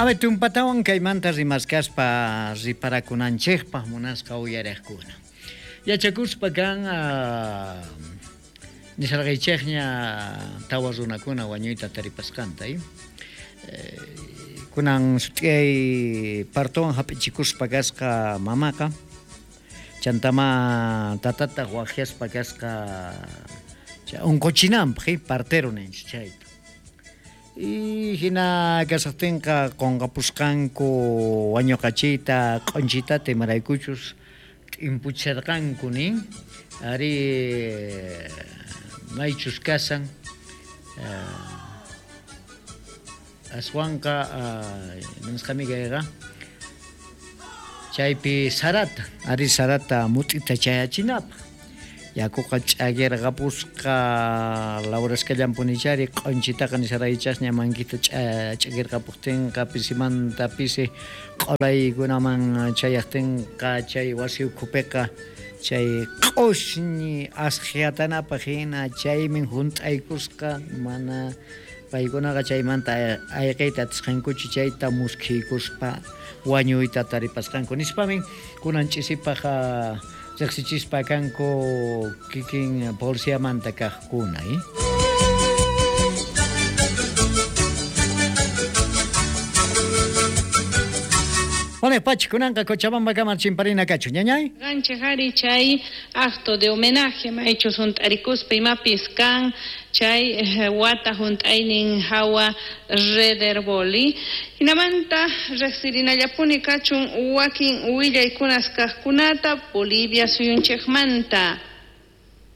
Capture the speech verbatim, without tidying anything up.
A ver, tumpatawan kaymanta rimaskaspa riparakunanchikpaq munasqa uyariqkuna. Yachakuspa kan uh, nisarqaychikña tawa runakuna wañuyta taripasqanta, eh? Kunan sut'iyay partowan hap'ichikuspa kasqa mamaqa, chantama tatata waqyaspa kasqa unquchinanpaq, eh? Partero ninchik chayta. Y hina kasaqtinqa qunqapusqanku wañuqachiyta q'unchitata imaraykuchus t'impucharqanku nin, ari maychus kasan uh, aswanqa uh, nisqami kayqa chaypi sarata, ari sarata mut'ita chayachinapaq. Yakuqa ch'akirqapusqa lawraskallanpunichari q'unchitaqa nisaraychasña mankita ch'akirqapuqtinqa pisimanta pisi q'ulaykunaman chayaqtinqa chay wasi ukhupiqa chay q'ushñi asqhiatanapaq hina chaymin hunt'aykusqa mana paykunaqa chaymanta ayqiyta atisqankuchu chayta muskhiykuspa wañuyta taripasqanku nispamin kunan ch'isipaq riqsichispa kanku kikin policiamanta kaqkuna, eh? Bueno, pachi, kunanqa Cochabamba kamar chimparina kachu, ñañay. Ganchej ari chay acto de homenaje maychus hunt'arikuspa imapis kan chay eh, wata hunt'aynin hawa rederboli. Hinamanta riqsirinallapuni kachun wakin willaykunas kaqkunata Bolivia suyunchikmanta.